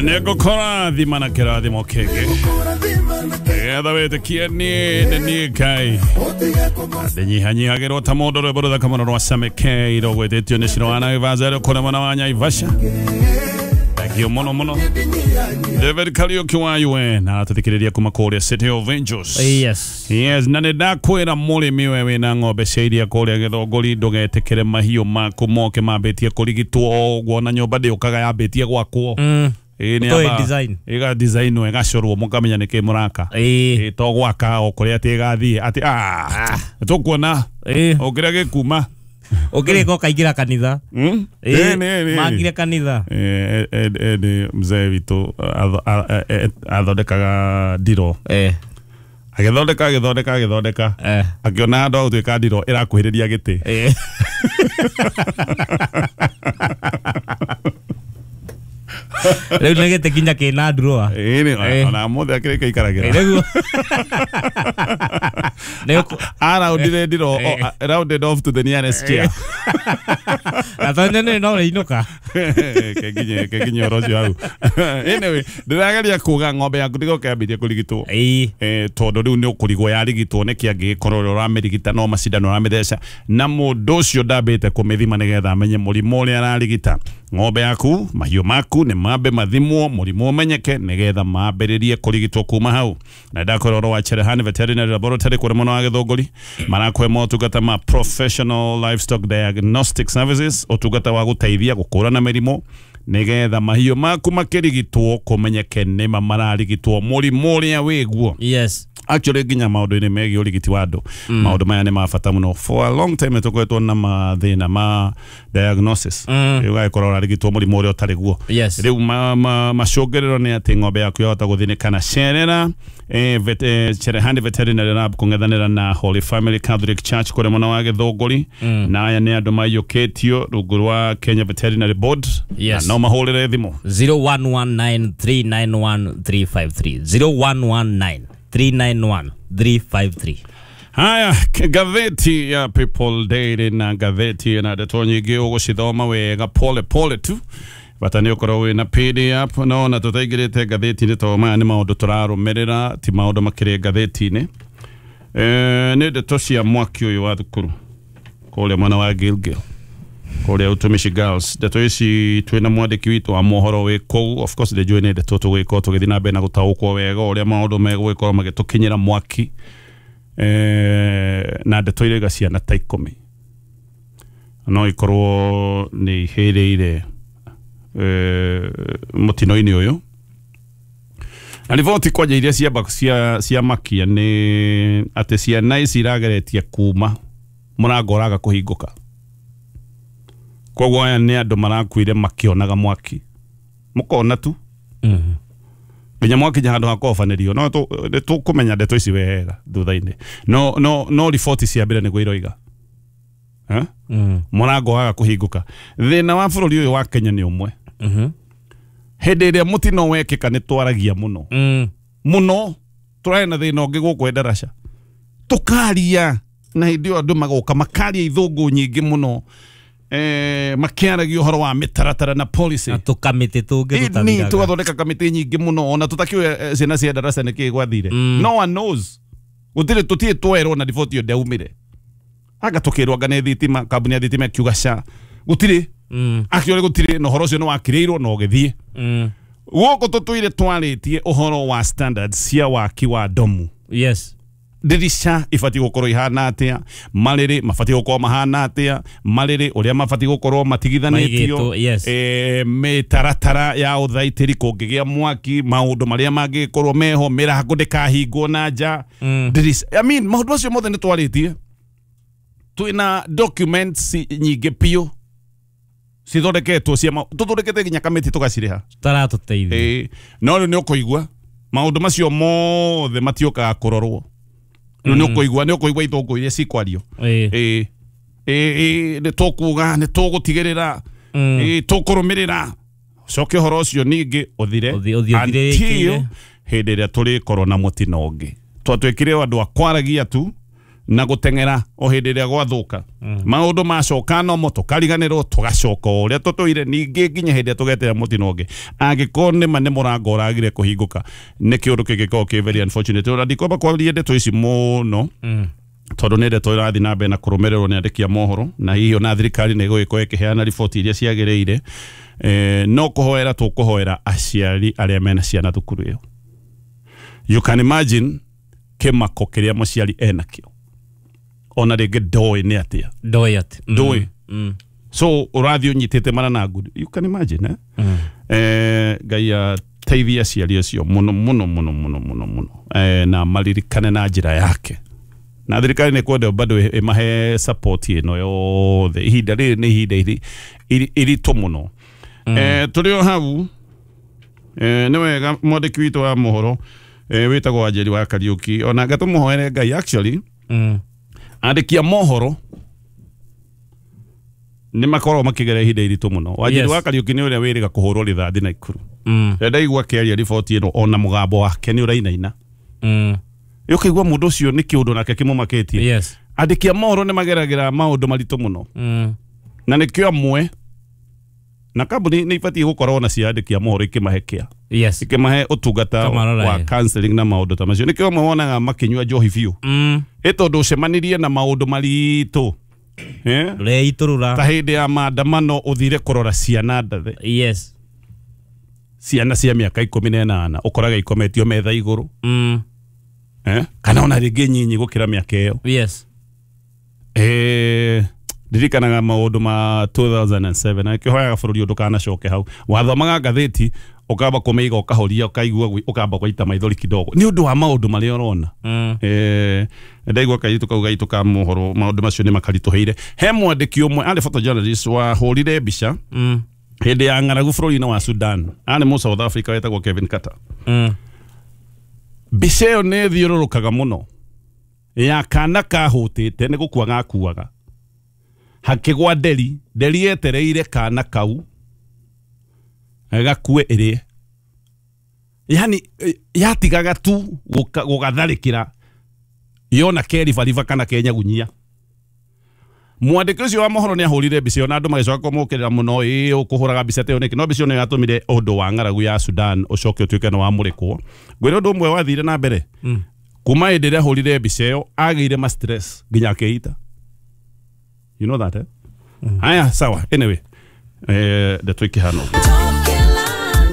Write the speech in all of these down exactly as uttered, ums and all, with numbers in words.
Nĩngũkora thima na kĩrathimo kĩngĩ nĩgetha wĩtĩkie niĩ nĩ niĩ Ngai ndĩnyihanyihagĩrwo ta mũndũ rwĩmbo rũthaka mũno rwa Same K rũgwĩtĩtio nĩ Ciro wa Naivasha rũkũrĩ mwena wa Naivasha. Thank you mũno mũno David Kariuki wa U N aratũthikĩrĩria kuma kũrĩa City of Angels. Yes. Yes, na nĩ ndakwĩra mũrĩmi we wĩna ng'ombe cia iria kũrĩa Gĩthũngũri ndũgetĩkĩre mahiũ maku moke mambĩtie kũrigitwo o ũguo na nyũmba ndĩũkaga yambĩtie gwakwo. Mm. Ĩĩ nĩ Ũtoĩ yamba- design. ĩga design ĩgacorwo mũkamenya nĩkĩ mũraka. Ĩĩ. Ĩĩ to gwaka o kũrĩa atĩ ĩgathiĩ atĩ ah tũkuona Ĩĩ. o kĩrĩa gĩkuma. Ũkĩrĩka ũkaingĩra kanitha. Mm? Ĩĩ, Ĩĩ, nĩ- nĩ- Mangire kanitha. Eh, eh, eh, nĩ mzee witũ atho- a- a- eh, athondekaga ndiro Eh. agĩthondeka agĩthondeka agĩthondeka Eh. akĩona handũ ha gũtuĩka ndiro ĩrakuhĩrĩria gĩtĩ. Eh. Rĩu nĩ gĩtĩ kinya kĩna drawer. Ĩĩ nĩ Eh. ona mũthĩ akĩrĩka ikaragĩra. Nĩguo. Nĩ Araundire ndiro Eh. o- a- rounded off to the nearest chair. Na tondũ nĩ no ũrĩinũka. Kenginye kenginye ũhoro ũcio hau. Anyway, ndĩrageria kuga ng'ombe yaku ndĩgoke yambĩtie kũrigitwo. Ĩĩ. Eh, tondũ rĩu nĩ ũkũrigwo yarigitwo nĩkĩ angĩgĩkorwo ũrĩa ũramĩrigita no macindano ũramĩtheca na mũndũ ũcio ndambĩte kũmĩthima nĩgetha amenye mũrimũ ũrĩa ararigita. Ng'ombe yaku mahiũ maku nĩ mambe mathimwo mũrimũ ũmenyeke nĩgetha mambĩrĩrie kũrigitwo kuma hau. Na ndakwĩra ũhoro wa Cherehani Veterinary Laboratory kũrĩa mwena wa Gĩthũngũri marakũhe motungata ma professional livestock diagnostic services, ũtungata wa gũteithia gũkũrana mĩrimũ nĩgetha mahiũ maku makĩrigitwo kũmenyeke nĩma mararigitwo mũrimũ ũrĩa wĩguo. Yes. Actually nginya maũndũ-inĩ megiĩ ũrigiti wa andũ maũndũ maya nĩ ma bata mũno. For a long time nĩtũkoretwo na mathĩna ma diagnosis. Mm. Rĩu ũgagĩkorwo ũrarigitwo mũrimũ ũrĩa ũtarĩ guo. Yes. Rĩu ma, ma, macũngĩrĩro nĩ atĩ ng'ombe yaku yahota gũthĩnĩka na cerera eh, vet, eh, Cherehani Veterinary Lab kũng'ethanĩra na Holy Family Catholic Church kũrĩa mwena wa Gĩthũngũri. Na aya nĩ andũ maiyũkĩtio rungu rwa Kenya Veterinary Board. Yes. Na no mahũrĩre thimũ zero one one nine three nine one three five three zero one one nine three nine one three five three. Haya, gatheti ya People Daily na gatheti na ndeto nyingĩ ũgũcithoma wega pole pole tu bata nĩ ũkorwo wĩna P D F no na tũtaingĩrĩte ngathĩti-inĩ tondũ maya nĩ maũndũ tũrarũmĩrĩra ti maũndũ makĩrĩ ngathĩti-inĩ. Eh, nĩ ndeto cia mwaki ũyũ wa thukuru kũrĩa mwena wa Gilgil kũrĩa Utumishi Girls. Ndeto ici twĩna mwandĩki witũ wa mohoro wĩ kũu. Of course ndĩnjũĩ nĩ ndeto tũgũgĩkorwo tũgĩthiĩ na mbere na gũtaũkwo wega ũrĩa maũndũ megũgĩkorwo magĩtũkinyĩra mwaki. Eh, na ndeto irauga ciana ta ikũmi no ikorwo nĩ ihĩrĩire eh, mũtino-inĩ ũyũ. Na riboti kwanja iria cia cia cia makia nĩ atĩ ciana ici irageretie kuma mũrango ũraga kũhingũka. Koguo aya nĩ andũ marakuire makĩonaga mwaki mũkona tu Mhm. nginya mwakinya handũ ha kũhobanĩrio no tũ- tũkũmenya ndeto ici wega thutha-inĩ. No no no riboti cia mbere nĩguo iroiga. Eh? Mm. Mũrango waga kũhingũka. Thĩna wa bũrũri ũyũ wa Kenya nĩ ũmwe. Mhm. Hĩndĩ ĩrĩa mũtino wekĩka nĩ twaragia mũno. Mm. Mũno tũrarĩ na thĩna ũngĩ gũkũ Endarasha. Tũkaria na hĩndĩ ĩyo andũ magoka makaria ithũngũ nyingĩ mũno. Eh, makĩaragia ũhoro wa mĩtaratara na policy. Na tũkamĩtĩ tũngĩ Ĩni tũtathiraga. tũgathondeka kamĩtĩ nyingĩ mũno ona tũtakĩũĩ ciana cia Endarasha nĩkĩĩ gwathire. Mm. No one knows. Gũtirĩ tũtirĩ twerwo na riboti ĩyo ndĩaumire. Anga tũkĩrwo anga nĩ thitima, kambuni ya thitima ĩkiuga ca. Gũtirĩ. Mm. Actually gũtirĩ na ũhoro ũcio nĩ wakĩrĩirwo na ũgĩthiĩ. Mm. Gũkũ tũtũire twarĩtie ũhoro wa standards cia waki wa domu. Yes. Ndirisha ibatiĩ gũkorwo ihana atĩa, marĩrĩ mabatiĩ gũkorwo mahana atĩa, marĩrĩ ũrĩa mabatiĩ gũkorwo matigithanĩtio, Maigĩtwo, yes. eh, mĩtaratara ya ũthaitĩri kũngĩgĩa mwaki, maũndũ marĩa mangĩkorwo meho, mĩrango ndĩkahingwo na nja. Mm. Ndirisha, I mean, maũndũ macio mothe nĩ twarĩtie. Twĩna documents nyingĩ biũ cithondeketwo cia ma- tũthondekete nginya kamĩtĩ tũgacirĩha. Taratũteithia. Ĩĩ, no rĩu nĩ ũkũigua maũndũ macio mothe matiũkaga kũrorwo. Rĩu nĩ ũkũigua nĩ ũkũigua ithũngũ iria cikwario. Ĩĩ. Ĩĩ, ĩĩ, nĩ tũkuga nĩ tũgũtigĩrĩra, Mm. ĩĩ, tũkũrũmĩrĩra. Ũcoke ũhoro ũcio ningĩ ũthire Ũthi- ũthiĩ ũthire until wĩkĩire. hĩndĩ ĩrĩa tũrĩkorwo na mũtino ũngĩ. Twatuĩkire andũ a kwaragia tu na guteng'era o hĩndĩ ĩrĩa gwathuka maũndũ macoka no mo tũkariganĩrwo tũgacoka o ũrĩa tũtũire ningĩ nginya hĩndĩ ĩrĩa tũgetera mũtino ũngĩ angĩkorwo nĩma nĩ mũrango ũragire kũhingũka nĩ kĩũndũ kĩngĩkorwo kĩ very unfortunate. Ona ndikwamba kwaria ndeto ici mũno tondũ nĩ ndeto ĩrathiĩ na mbere na kũrũmĩrĩrwo nĩ andĩki a mohoro na hihi ona thirikari nĩ ĩgũgĩkorwo ĩkĩheana riboti iria ciagĩrĩire. Eh, no kũhoera tũkũhoera aciari arĩa mena ciana thukuru ĩyo. You can imagine kĩmako kĩrĩa mũciari enakĩo ona rĩngĩ ndoĩ nĩ atĩa ndoĩ atĩ ndoĩ Mm. so ũrathiĩ ũnyitĩte mara na ngundi, you can imagine eh? Mm. Eh, Ngai ateithie aciari acio mũno mũno mũno mũno mũno mũno eh, na maririkane na njĩra yake na thirikari nĩ kwenda bado ĩmahe support ĩno yothe. Ihinda rĩrĩ nĩ ihinda iri- iri- iritũ mũno. Mm. Eh, tũrĩ o hau eh, nĩ wega mwandĩki witũ wa mohoro eh, wĩtagwo Wanjeri wa Kariũki ona ngatũmũhoere Ngai actually Mm. andĩki a mohoro nĩ makoragwo makĩgera ihinda iritũ mũno. Wanjeri Yes. wa Kariũki nĩ ũrĩa wĩrĩga kũhũrwo rithathi Naikuru. Mm. Rĩrĩa ndaigua akĩaria riboti ĩno ona mũgambo wake nĩ ũrainaina Mm. ũkaigua mũndũ ũcio nĩ kĩũndũ nake kĩmũmakĩtie. Yes. Andĩki a mohoro nĩ mageragĩra maũndũ maritũ mũno Mm. na nĩkĩo amwe na kambuni nĩ ibatiĩ gũkorwo na cia andĩki a mohoro ikĩmahe kĩa Yes. ikĩmahe ũtungata Kamarora, wa eh. counseling na maũndũ ta macio. Nĩkĩo amwe wonaga makĩnyua njohi biũ Mm. ĩ tondũ ũcemanirie na maũndũ maritũ eh? Ta Ndũreiturura. hĩndĩ ya maandamano ũthire kũrora ciana ndathe Yes. ciana cia mĩaka ikũmi na ĩnana ũkoraga ikometio metha igũrũ Mm. eh? Kana ona rĩngĩ nyinyi gũkĩra mĩaka ĩyo. Yes. Eh, ndirikanaga maũndũ ma two thousand seven na kĩhoyaga bũrũri ũyũ ndũkanacoke hau. Wathomaga ngathĩti ũkamba kũmĩiga ũkahoria ũkaigua gwi- ũkamba gwaita maithori kidogo nĩ ũndũ wa maũndũ marĩa ũrona. Mm. Eh, ndaigua kairĩtu kau gaitũ ka mohoro maũndũ macio nĩ makaritũhĩire. He mwandĩki ũmwe arĩ photojournalist wahũrire mbica Mm. hĩndĩ ya ng'aragu bũrũri-inĩ wa Sudan arĩ mũ South Africa wetagwo Kevin Carter. Mm. Mbica ĩyo nĩ ĩthiũrũrũkaga mũno ya kana kahũtĩte nĩ gũkua gakuaga hakĩgwa nderi nderi yetereire kana kau gakue ĩrĩe yani yatigaga tu gũka- gũgatharĩkĩra yona keribariba kana kenyagunyia. Mwandĩki ũcio wa mohoro nĩ ahũrire mbica ĩyo na andũ magĩcoka kũmũkĩrĩra mũno ĩ ũkũhũraga mbica ta ĩyo nĩkĩ no mbica ĩyo nĩyo yatũmire ũndũ wa ng'aragu ya Sudan ũcoke ũtuĩke nĩ wamũrĩkwo. Ngwĩre ũndũ ũmwe wathire na mbere Mm. kuma hĩndĩ ĩrĩa ahũrire mbica ĩyo agĩire ma stress nginya akĩita. You know that eh? Mm. Aya sawa anyway eh ndeto ikĩhana ũguo.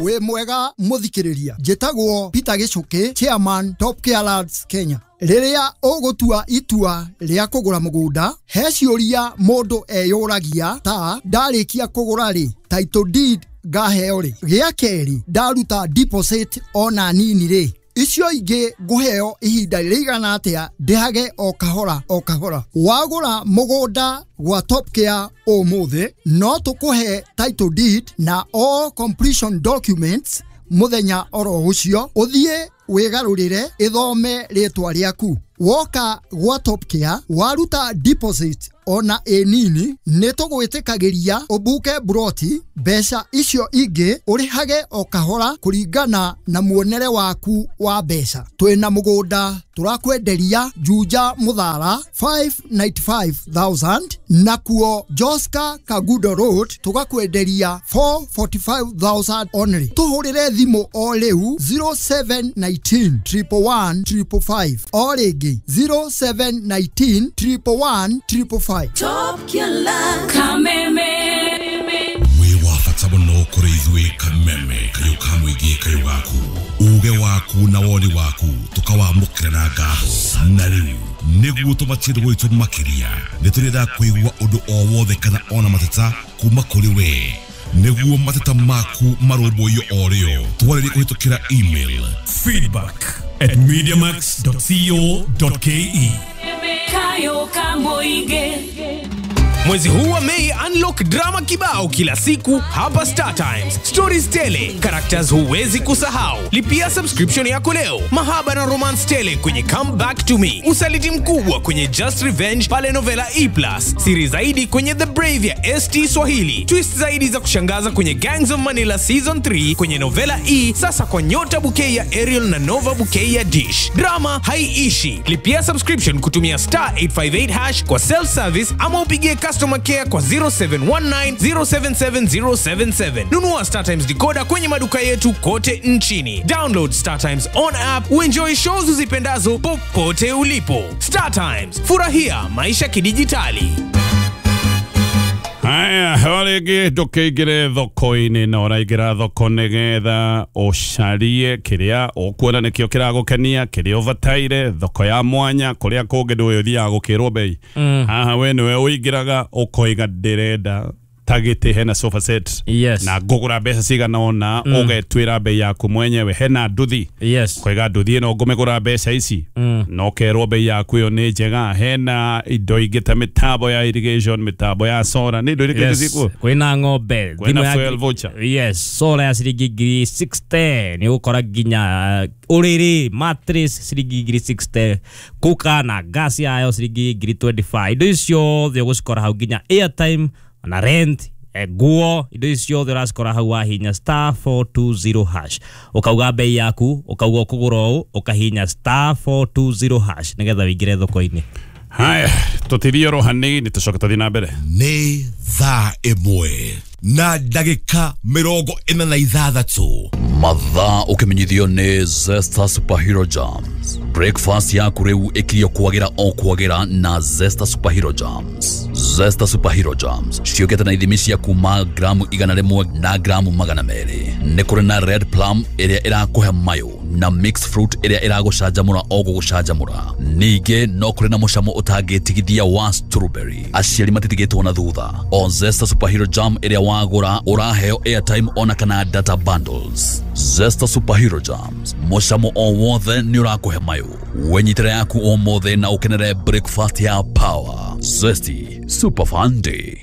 Wĩ mwega mũthikĩrĩria njĩtagwo Peter Gĩcũkĩ chairman Top Care Lands Kenya. Rĩrĩa ũgũtua itua rĩa kũgũra mũgũnda he ciũria mũndũ eyũragia ta ndarĩkia kũgũra rĩ title deed ngaheo rĩ gĩa kerĩ ndaruta deposit ona nini rĩ icio ingĩ ngũheo ihinda rĩigana atĩa ndĩhage o kahora o kahora. Wagũra mũgũnda gwa Top Care ũmũthĩ no tũkũhe title deed na all completion documents mũthenya oro ũcio ũthiĩ wĩgarũrĩre ĩthome rĩtwa rĩaku. Woka gwa Top Care waruta deposit ona ĩ nini nĩ tũgwĩtĩkagĩria ũbuke buroti mbeca icio ingĩ ũrĩhage o kahora kũringana na muonere waku wa mbeca. Twĩna mũgũnda tũrakwenderia Juja Mũthara five ninety-five thousand nakuo Joska Kagudo Road tũgakwenderia four forty-five thousand only. Tũhũrĩre thimũ o rĩu zero seven nineteen triple one triple five o rĩngĩ zero seven nineteen triple one triple five. Top Killer Kameme wĩ wa bata mũno kũrĩ ithuĩ Kameme kayũ ka mũingĩ kayũ gaku uge waku na woni waku tũkawamũkĩra na ngatho na rĩu nĩguo tũmatie ndũgũ itũ makĩria nĩ tũrenda kũigua ũndũ o wothe kana ona mateta kuma kũrĩ we nĩguo mateta maku marũmbũiyo o rĩo twarĩrie kũhĩtũkĩra email feedback at mediamax dot co dot ke Kayo ka mũingĩ. Mwezi huu wa Mei, unlock drama kibao kila siku hapa Star Times. Stories tele, characters huwezi kusahau. Lipia subscription yako leo. Mahaba na romance tele kwenye Come Back to Me. Usaliti mkubwa kwenye Just Revenge pale Novela E plus. Siri zaidi kwenye The Brave ya S T Swahili. Twist zaidi za kushangaza kwenye Gangs of Manila Season three kwenye Novela E, sasa kwa Nyota Bouquet ya Ariel na Nova Bouquet ya Dish. Drama haiishi. Lipia subscription kutumia star eight five eight hash kwa self service ama upigie customer care kwa zero seven one nine zero seven seven zero seven seven. Nunua Star Times decoder kwenye maduka yetu kote nchini. Download Star Times on app uenjoy shows uzipendazo popote ulipo. Star Times, furahia maisha kidijitali. Haya, rĩngĩ ndũkĩingĩre thoko-inĩ na ũraingĩra thoko nĩgetha ũcarie kĩrĩa ũkuona nĩkĩo kĩragũkenia, kĩrĩa ũbataire, thoko ya mwanya, kũrĩa kũngĩ ndũĩ ũthiaga gũkĩrwo bei. Haha we nĩwe ũingĩraga ũkoiga ndĩrenda ta gĩtĩ hena sofa set. Yes. Na ngũgũra mbeca cigana ũna, mm. ũgetwĩra bei yaku mwenyewe, hena nduthi. Yes. Koiga nduthi ĩno ngũmĩgũra mbeca ici. Mm. Na ũkerwo bei yaku ĩyo nĩ njega. Hena indo ingĩ ta mĩtambo ya irrigation, mĩtambo ya solar, nĩ indo irĩkũ Yes. cikuo? Kwĩna ng'ombe, Kwĩna fuel voucher. Yes, solar ya ciringi ngiri sixty nĩ ũgũkora nginya ũrĩrĩ, mattress ciringi ngiri sixty, kuka na gas yayo ciringi ngiri twenty-five. Indo icio ciothe ũgũcikora hau nginya airtime na rent, nguo, indo icio ciothe ũracikora hau wahinya star four two zero hash. Ũkauga bei yaku, ũkauga ũkũgũra ũũ, ũkahinya star four two zero hash nĩgetha wĩingĩre thoko-inĩ. Haya, tũtithie oro hanini tũcoke tũthiĩ na mbere. Nĩ thaa ĩmwe na ndagĩka mĩrongo ĩna na ithathatũ. Mathaa ũkĩmenyithio nĩ Zesta Superhero Jams. Breakfast yaku rĩu ĩkirio kwagĩra o kwagĩra na Zesta Superhero Jams. Zesta Superhero Jams ciũkĩte na ithimi cia kuma gramu igana rĩmwe na gramu magana merĩ. Nĩ kũrĩ na red plum ĩrĩa ĩrakũhe mayũ na mixed fruit ĩrĩa ĩragũcanjamũra o gũgũcanjamũra. Ningĩ no kũrĩ na mũcamo ũtangĩtigithia wa strawberry. Aciari matitigĩtwo na thutha. O Zesta Superhero Jam ĩrĩa wagũra ũraheo airtime ona kana data bundles. Zesta Superhero Jams, mũcamo o wothe nĩ ũrakũhe mayũ. Wenyitĩre yaku ũmũthĩ na ũkenere breakfast ya power. Zesty Super Fun Day.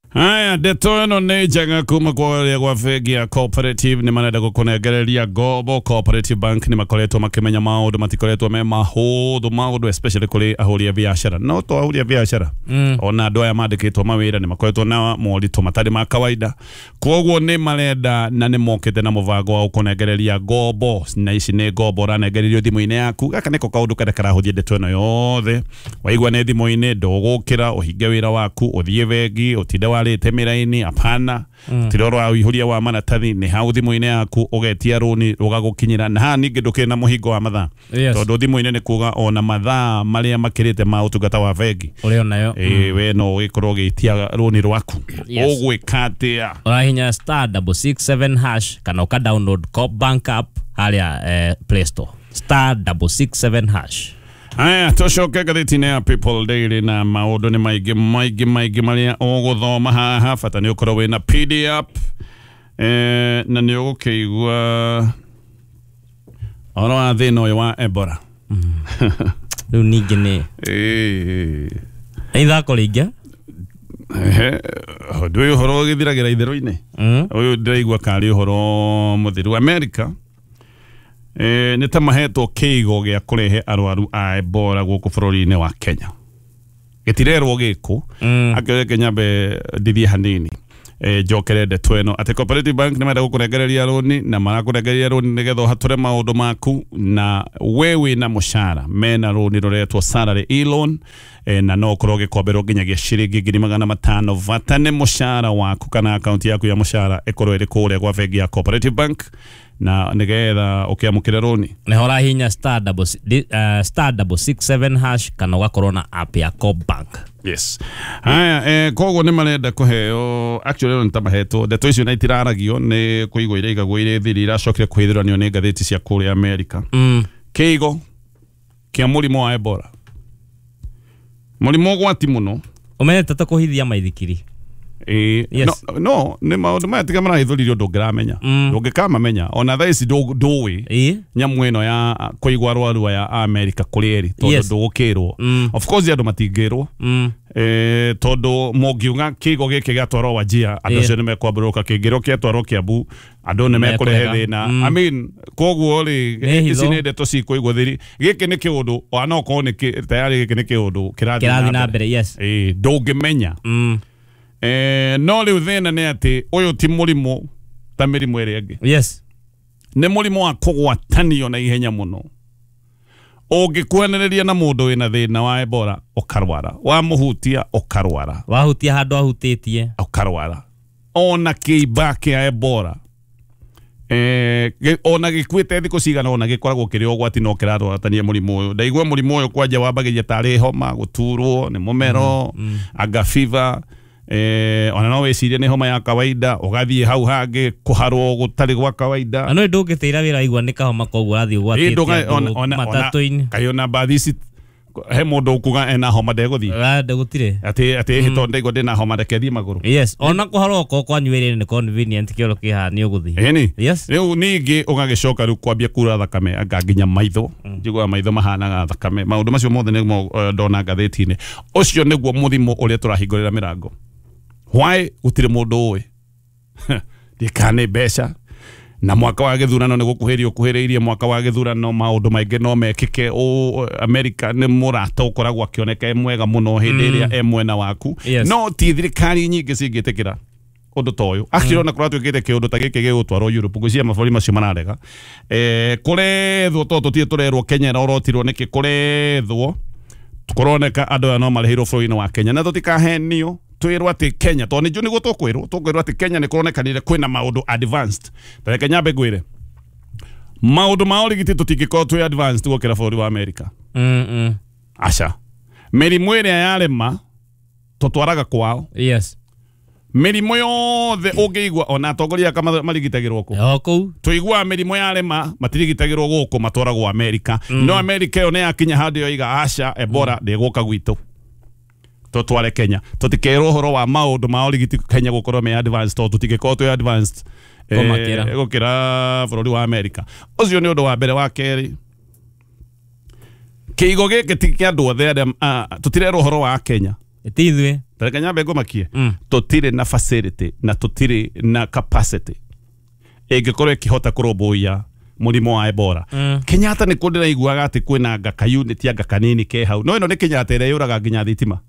Haya, ndeto ĩno nĩ njega kuma kũrĩa gwa bengi ya Cooperative. Nĩ marenda gũkũnengereria ngombo. Cooperative Bank nĩ makoretwo makĩmenya maũndũ matikoretwo me mahũthũ, maũndũ especially kũrĩ ahũri a biacara. No to ahũri a biacara, Mm. ona andũ aya mandĩkĩtwo mawĩra nĩ makoretwo na moritũ matarĩ ma kawaida. Koguo nĩ marenda na nĩ mokĩte na mũbango wa gũkũnengereria ngombo, na ici nĩ ngombo ũranengererio thimũ-inĩ yaku. Gaka nĩko kaũndũ karĩa karahũthia ndeto ĩno yothe. Waigua nĩ thimũ-inĩ, ndũgũkĩra ũhinge wĩra waku, ũthiĩ bengi, ũtinde warĩte mĩraini, hapana. Mm. Tiroro wa ũihũria wa maratathi, nĩ hau thimũ-inĩ yaku ũgetia rũni rũgagũkinyĩra. Na haha ningĩ ndũkĩrĩ na mũhingo wa mathaa, Yes. tondũ thimũ-inĩ nĩ kuga ona mathaa marĩa makĩrĩte ma ũtungata wa bengi Ũrĩ onayo. ĩ we no ũgĩkorwo ũgĩtia rũni rwaku. Yes. Ũgwĩka atĩa? Ũrahinya star double six seven hash kana ũka download Coop Bank app harĩa eh, Play Store. Star double six seven hash. Haya, tũcoke ngathĩti-inĩ ya People Daily na maũndũ nĩ maingĩ maingĩ maingĩ marĩa ũgũthoma haha. Bata nĩ ũkorwo wĩna P D app, eh, na nĩ ũgũkĩigua ũhoro wa thĩna ũyũ wa Ebola. Rĩu ningĩ nĩ Ĩĩ. nĩ ithako rĩingĩ. Ehe, ũndũ ũyũ ũhoro ũgĩthiragĩra itherũ-inĩ. Mm. Ũyũ ndĩraigua karĩ ũhoro mũthiru. America eh, nĩ ta mahetwo kĩigo gĩa kũrehe arwaru a Ebola gũkũ bũrũri-inĩ wa Kenya. Gĩtirerwo gĩkũ. Mm. Akĩreke nyambe ndithie hanini. Eh, njokere ndeto ĩno atĩ Cooperative Bank nĩ marenda gũkũnengereria rũni, na marakũnengereria rũni nĩgetha ũhatũre maũndũ maku, na we wĩna mũcara mena rũni rũretwo salary e-loan, eh, na no ũkorwo ũgĩkomberwo nginyagia ciringi ngiri magana matano. Bata nĩ mũcara waku kana akaunti yaku ya mũcara ĩkorwo ĩrĩ kũrĩa gwa bengi ya Cooperative Bank, na nĩgetha ũkĩamũkĩre rũni. Nĩho ũrahinya star double si-, uh, star double six seven hash kana ũgakorwo na app ya Coop Bank. Yes. Haya, eh, koguo nĩ marenda kũheo, actually nĩ ta mahetwo ndeto icio na itiraragio nĩ kũigwo iraigagwo irĩ thiri, iracokire kũhithũranio nĩ ngathĩti cia kũrĩa America. Mm. Kĩigo kĩa mũrimũ wa Ebola, mũrimũ ũgwati mũno. Ũmenyete ta kũhithia maithikiri. Ĩĩ, Yes. no, no nĩ maũndũ maya tiga marahithũririo ndũngĩramenya. Mm. Ndũngĩkamamenya ona thaa ici ndũ- ndũĩ Ĩĩ. nyamũ ĩno ya kũigwo arwaru aya a America kũrĩa ĩrĩ, tondũ Yes. ndũgũkĩrwo. Mm. Of course andũ matingĩrwo. Mm. eh tondu mungiuga kigo giki giatwarwo Wajia andu acio nimekwambũrũka kingĩrwo kĩatwarwo Kiambu andu nimekũrehe thĩna. I mean koguo ri ici nĩ ndeto cikũigwo thiri gĩkĩ nĩ kĩũndũ ona okorwo nĩ tayari gĩkĩ nĩ kĩũndũ kĩrathiĩ na mbere. Yes, eh ndũngĩmenya. Eh no rĩu thĩna nĩ atĩ ũyũ ti mũrimũ ta mĩrimũ ĩrĩa ĩngĩ. Yes, nĩ mũrimũ wa kũgwatanio na ihenya mũno. Ũngĩkuhanĩrĩria na mũndũ wĩna thĩna wa Ebola ũkarwara, wamũhutia ũkarwara, wahutia handũ ahutĩtie ũkarwara. Ona kĩimba kĩa Ebola eh ona gĩkuĩte thikũ cigana ona gĩkoragwo kĩrĩ ũgwati no kĩrarwaratania mũrimũ ũyũ. Ndaigua mũrimũ ũyũ kwanja wambagĩria tarĩ homa, gũturwo nĩ mũmero, anga fever, eh ona no wĩcirie nĩ homa ya kawaida ũgathiĩ hau hangĩ kũharwo gũtarĩ gwa kawaida. Na no ndũngĩtĩra wĩra igua nĩ kahoma koguo ũrathiĩ ũgwatĩtie matatũ-inĩ. Kaĩ ona mbathi ici he mũndũ ũkuga ena homa ndegũthiĩ ndegũtirĩ atĩ atĩ hĩ tondũ ndaigua ndĩna homa reke thiĩ magũrũ. Yes, ona kũharwo okorwo kwanyu wĩra-inĩ nĩ convenient kĩoro kĩhaha nĩ ũgũthiĩ. Ĩni. Yes. Rĩu ningĩ ũgagĩcoka rĩu kwambia kura thakame anga nginya maitho, njiguaga maitho mahanaga thakame. Maũndũ macio mothe nĩmo ndona ngathĩti-inĩ. Ũcio nĩguo mũrimũ ũrĩa tũrahingũrĩra mĩrango. Why gũtirĩ mũndũ ũĩ ndikane mbeca na mwaka wa gĩthurano nĩ gũkuhĩrĩria ũkuhĩrĩirie mwaka wa gĩthurano maũndũ maingĩ no mekĩke. Ũ America nĩ mũrata ũkoragwo akĩoneka e mwega mũno hĩndĩ ĩrĩa e mwena waku. No ti thirikari nyingĩ cingĩtĩkĩra ũndũ ta ũyũ. Actually ona kũratuĩkĩte kĩũndũ ta gĩkĩ gĩgũtwarwo Europe ngwĩciria mabũrũri macio mararega. Eh kũrethwo tondũ tũtirĩ tũrerwo Kenya ĩrorotirwo nĩkĩ, kũrethwo kũroneka andũ aya no marĩhĩirwo bũrũri-inĩ wa Kenya na tũtikahenio twirwo atĩ Kenya tondũ nĩ njũĩ nĩguo tũkwĩrwo tũkwĩrwo atĩ Kenya nĩ kũronekanire kwĩna maũndũ advanced. Ta reke nyambe ngwĩre maũndũ ma ũrigiti tũtingĩkorwo twĩ advanced gũkĩra bũrũri wa America. Mm aca mĩrimũ ĩrĩa yarema tũtwaraga kwao. Yes, mĩrimũ yothe ũngĩigua ona atongoria aka marigitagĩrwo kũ o kũu tũiguaga mĩrimũ yarema matirigitagĩrwo gũkũ matwaragwo America. No America ĩyo nĩ yakinya handũ yoiga aca Ebola ndĩgũka gwitũ tũtware Kenya. Tũtikerwo ũhoro wa maũndũ ma ũrigiti Kenya gũkorwo me advanced tondũ tũtingĩkorwo twĩ advanced gũkĩra bũrũri wa America. Ũcio nĩ ũndũ wa mbere. Wa kerĩ, kĩigo gĩkĩ ti kĩa andũ othe arĩa tũtirerwo ũhoro wa Kenya ti ithuĩ. Tareke nyambe ngũmakie tũtirĩ na facility na tũtirĩ na capacity ĩngĩkorwo ĩkĩhota kũrũmbũiya mũrimũ wa Ebola. Kenyatta nĩ kũ ndĩraiguaga atĩ kwĩna ngaka unit ya ngaka nini ke hau. No ĩno nĩ Kenyatta ĩrĩa yũraga nginya thitima.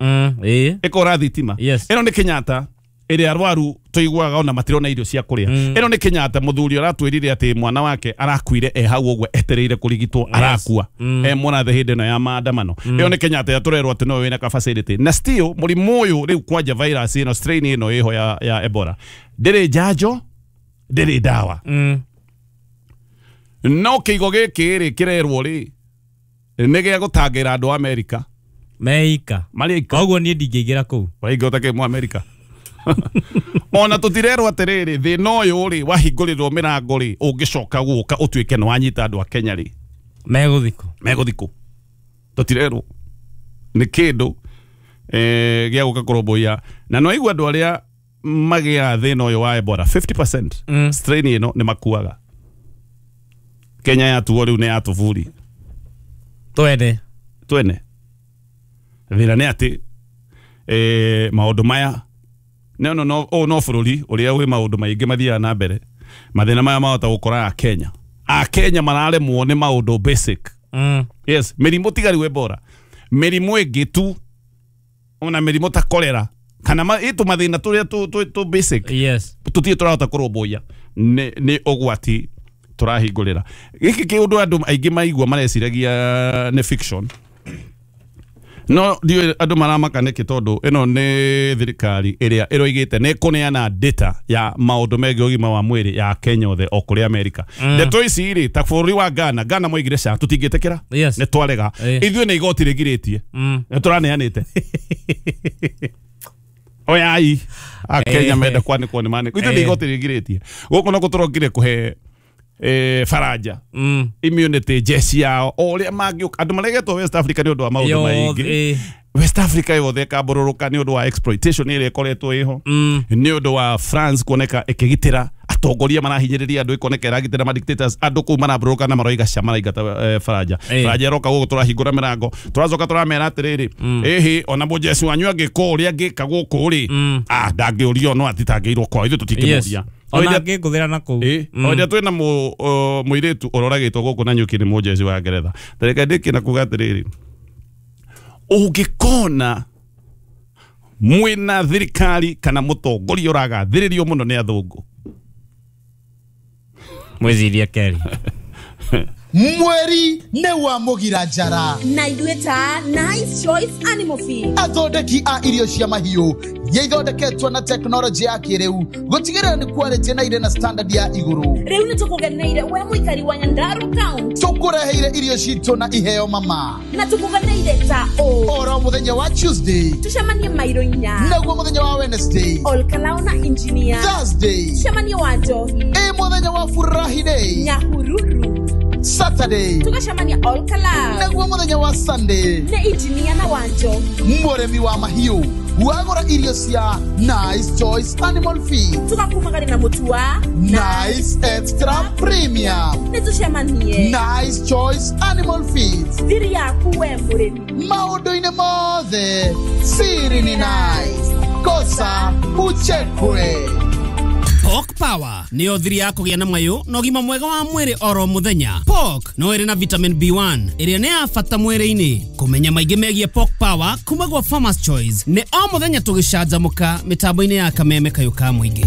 Ĩkora thitima. Ĩno nĩ Kenyatta ĩrĩa arwaru tũiguaga ona matirona irio cia kũrĩa. Ĩno nĩ Kenyatta mũthuri ũratwĩrire atĩ mwana wake arakuire e hau ũguo etereire kũrigitwo arakua e mũrathe hĩndĩ ĩno ya maandamano. Ĩyo nĩ Kenyatta ĩrĩa tũrerwo atĩ no wĩna capacity na still mũrimũ ũyũ rĩu kwanja virus ĩno strain ĩno ĩho ya, ya Ebola ndĩrĩ njanjo ndĩrĩ ndawa. No kĩigo gĩkĩ rĩ kĩrerwo rĩ nĩ gĩa gũtangĩra andũ a America meika marĩ koguo niĩ ndingĩingĩra kũu waingĩhota kĩ mu America. Ona tũtirerwo atĩrĩrĩ thĩna ũyũ rĩ wahingũrĩrwo mĩrango rĩ ũngĩcoka gũka ũtuĩke nĩ wanyita andũ a Kenya rĩ megũthiĩ kũ megũthiĩ kũ tũtirerwo nĩ kĩndũ eh gĩa gũka kũrũmbũiya. Na no aigua andũ arĩa magĩaga thĩna ũyũ wa Ebola fifty percent strain ĩno nĩ makuaga. Kenya yatuo rĩu nĩ yatũburi twene twene. Thĩna nĩ atĩ eh maũndũ maya no no no o no bũrũri ũrĩa wĩ maũndũ maingĩ mathiaga na mbere mathĩna maya mahota gũkora a Kenya a Kenya mararemwo nĩ maũndũ basic. Mm. Yes, mĩrimũ tiga rĩu Ebola mĩrimũ ĩngĩ tu ona mĩrimũ ta cholera kana ĩtũ mathĩna tũrĩa tũ tũ basic. Yes, tũtirĩ tũrahota kũrũmbũiya nĩ nĩ ũgwati tũrahingũrĩra. Gĩkĩ kĩũndũ andũ aingĩ maigua mareciragia nĩ fiction. No ndiũĩ andũ maramaka nĩkĩ tondũ ĩno nĩ thirikari ĩrĩa ĩroigĩte nĩ ĩkũneana data ya maũndũ megiĩ ũgima wa mwĩrĩ ya Kenya othe o kũrĩ America. Ndeto ici rĩ ta bũrũri wa Ghana, Ghana moigire ca tũtingĩtĩkĩra nĩ twarega ithuĩ nĩ igoti rĩgirĩtie nĩ tũraneanĩte. Oyai a Kenya menda kwanĩkwo nĩ manĩkwo ithuĩ nĩ igoti rĩgirĩtie gũkũ no kũtũrokire kũhe eh faraja mm. immunity jeshi yao o ũrĩa mangĩũka andũ maregetwo West Africa nĩ ũndũ wa maũndũ maingĩ West Africa yothe ĩkambũrũrũka nĩ ũndũ wa exploitation ĩrĩa ĩkoretwo ĩho, nĩ ũndũ wa France kuoneka ĩkĩgitĩra atongoria marahinyĩrĩria andũ, ĩkoneka ĩragitĩra ma dictators, andũ kũu marambũrũka na maroiga cia maraingata eh, Faranja. Eh. Faranja ĩroka gũkũ, tũrahingũra mĩrango, tũracoka tũramera atĩrĩrĩ, ĩhĩ ona mũjeci wanyu angĩka ũrĩa angĩka gũkũ rĩ, ah ndangĩũrio, no atitangĩirwo kwao, ithuĩ tũtingĩmũria. Yes. Ona angĩngũthĩra na kũu. Ĩ, o hĩndĩ twĩna mũ- o, mũirĩtu ũroragĩtwo gũkũ na nyuki nĩ mũjeci wa Ngeretha. Tareke ndĩkie na kuga atĩrĩrĩ, ũngĩkona mwĩna thirikari kana mũtongoria ũragathĩrĩrio mũno nĩ athũngũ, Mwĩcirie kerĩ. Mweri nĩ wa mũgira njara Na ithuĩ ta Nice Choice Animal Feed, athondeki a irio cia mahiũ iria ithondeketwo na tekinoronjĩ ya kĩrĩu gũtigĩrĩra nĩ quality na irĩ na standard ya igũrũ. Rĩu nĩ tũkũgeneire we mũikari wa Nyandarua County. Tũkũreheire irio citũ na iheo mama. Na tũkũgeneire ta ũ? Oro mũthenya wa Tuesday tũcemanie mairo inya, naguo mũthenya wa Wednesday Olkalao na Engineer, Thursday tũcemanie wa Njohi, ĩ mũthenya wa Furahi Day Nyahururu, Saturday tũgacemania Olkalao, naguo mũthenya wa Sunday nĩ Engineer na wa Njohi. Mũrĩmi wa mahiũ wagũra irio cia Nice Choice Animal Feed, tũgakumagari na mũtu wa Nice Extra Premium. Nĩ tũcemanie Nice Choice Animal Feed, thiri yaku we mũrĩmi. Maũndũ-inĩ mothe siri ni nice, kosa uchekwe. Pork Power nĩyo thiri ya kũgĩa na mayũ na ũgima mwega wa mwĩrĩ oro mũthenya. Pork no ĩrĩ na vitamin B one ĩrĩa nĩ ya bata mwĩrĩ-inĩ. Kũmenya maingĩ megiĩ Pork Power kuma gwa Farmers Choice nĩ o mũthenya tũgĩcanjamũka mĩtambo-inĩ ya Kameme kayũ ka mũingĩ.